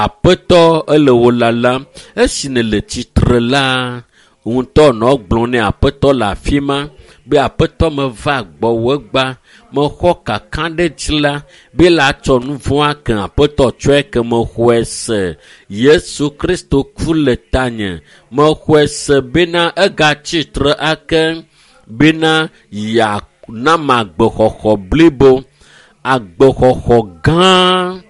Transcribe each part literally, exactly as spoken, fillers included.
Aƒetɔ ele wò lalam. Esi nèle tsitre la, ŋutɔ nɔ gblɔm ne aƒetɔ le afi ma be aƒetɔ meva gbɔwò egbea, mexɔ kakaɖedzi la be la tsɔ nu vɔ̃a ke aƒetɔ tsɔe ke mexɔe se. Yesu Kristo ku le tanye. Mexɔe se bena egatsi tre ake bena yeanam agbexɔxɔ blibo, agbexɔxɔ gã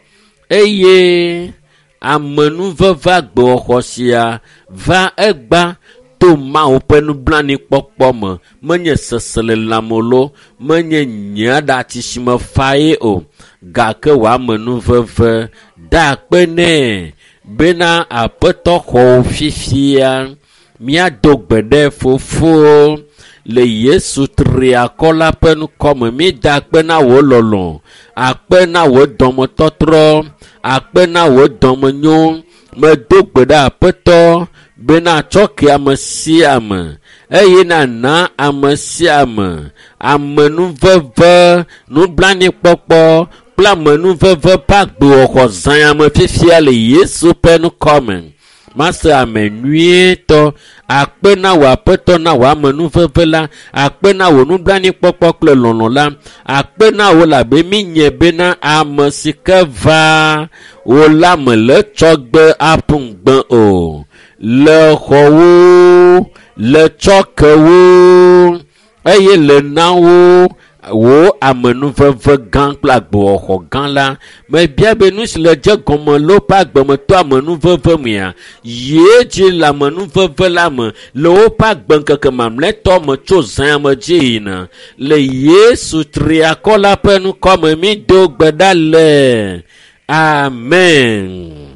eye amenuveve agbexɔxɔ sia va egba to Mawu ƒe nublanuikpɔkpɔ me. Menye seselelãme loo, menye nye aɖatsi si me fa ye o, gake wò amenuveve da akpe nɛ bena aƒetɔ xɔ wò fifia. Míado gbe ɖe fofo le Yesu triakɔ la ƒe ŋkɔme. Mída akpe na wò lɔlɔ̃, akpe na wò dɔmetɔtrɔ, akpe na wò dɔmenyo. Medo gbe ɖe aƒetɔ bena tsɔ ke ame sia ame eye nana ame sia ame amenuveve, nublanuikpɔkpɔ kple amenuveve ƒe agbewɔxɔ zã ame fifia le Yesu ƒe ŋkɔme. Mase ame nyuietɔ akpe na wò aƒetɔ na wò amenuveve la, akpe na wò nublanuikpɔkpɔ kple lɔlɔ̃ la, akpe na wò labe míenye bena ame si ke va wò la mele tsɔgbe aƒu ŋugbe o. Le xɔwo, le tsɔkewo eye le na wo wò amenuveve gã kple agbewɔxɔ gã la. Mebia be nu si le dze gɔme le woƒe agbemetɔ amenuveve mea, yie dzi le amenuveve la me le woƒe agbeŋkeke mamlɛtɔ me tso zã me dzi yina. Le Yesu triakɔ la ƒe ŋkɔme mído gbe ɖa le. Amen.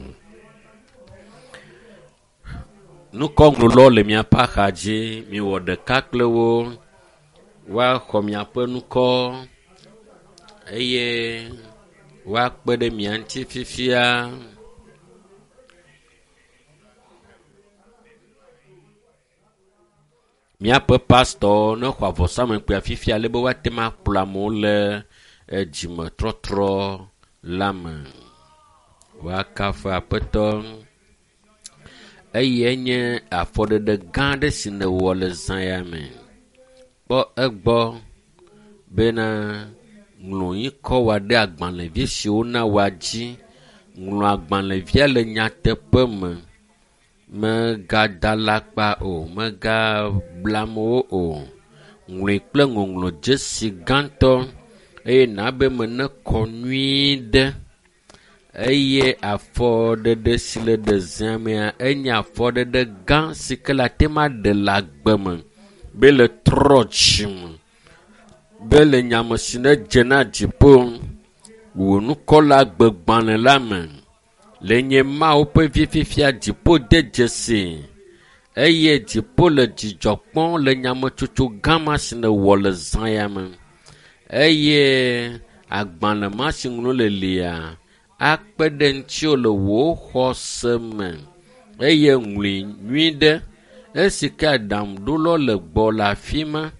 Nukɔŋlɔlawo le miaƒe axa dzi, miwɔ ɖeka kple wo, woaxɔ miaƒe ŋkɔ eye woakpe ɖe mia ŋuti fifia. Míaƒe pastɔ ne xɔ avɔsamlekpuia fifia ale be woate ŋu akplɔ amewo le edzimetɔtrɔ la me. Woakafu aƒetɔ. Eye nye afɔɖeɖe gã aɖe si nèwɔ le zã ya me. Kpɔ egbɔ bena ŋlɔ ŋkɔ wɔ ɖe agbalẽvi si wona wòa dzi. Ŋlɔ agbalẽvia le nyateƒe me. Mègada alakpa o, mègable amewo o. Ŋlɔe kple ŋɔŋlɔdzesi gãtɔ eye nabe me nekɔ nyuie ɖe. Eye afɔɖeɖe si le ɖe zã mea enye afɔɖeɖe gã si ke le ate ŋu aɖe le agbe me be le trɔ dzime, be le nyame si ne dze na dziƒo wò ŋkɔ le agbegbalẽ la me. Le nye Mawu ƒe vi fifia dziƒo de dzesi eye dziƒo le dzidzɔ kpɔm le nyametsotso gã ma si nèwɔ le zã ya me. Eye agbalẽ ma si ŋlɔ le lia akpe ɖe ŋutiwò le wò xɔse me eye ŋlɔe nyuie ɖe. Esi ke aɖaŋuɖolawo le gbɔ le afi ma.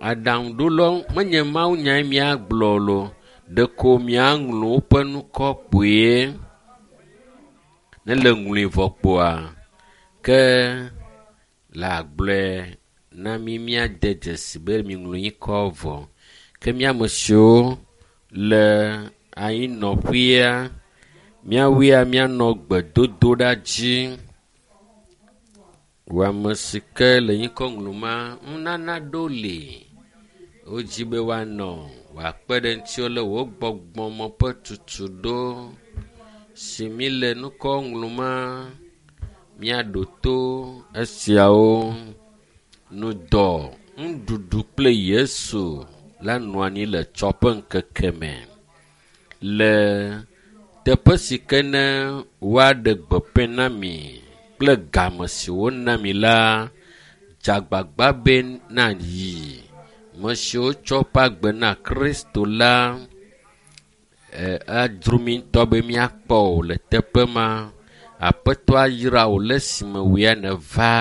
Aɖaŋuɖolawo menye mawunyae míagblɔ loo, ɖeko míaŋlɔ woƒe ŋkɔ kpuie. Ne le ŋlɔe vɔ kpoa, ke le agblɔe na mí míade dzesi be miŋlɔ ŋkɔ vɔ. Ke mía ame siwo le anyinɔƒea, míawoea míanɔ gbedodoɖa dzi. Wò ame si ke le ŋkɔ ŋlɔma, nunana ɖewo li wodzi be woanɔ wòakpe ɖe ŋutiwò le wò gbɔgbɔme ƒe tutuɖo si mi le ŋkɔ ŋlɔma míaɖo to esiawo. Nudɔ, nuɖuɖu kple Yesu la nɔ anyi le tsɔ ƒe ŋkeke me le teƒe si ke ne woaɖe gbeƒe na mi kple game si wona mi la, dze agbagba be nayi. Ame siwo tsɔ woƒe agbe na Kristo la, adzro mi ŋutɔ be míakpɔ wò le teƒe ma. Aƒetɔ ayra wò le esime wò ya nèva.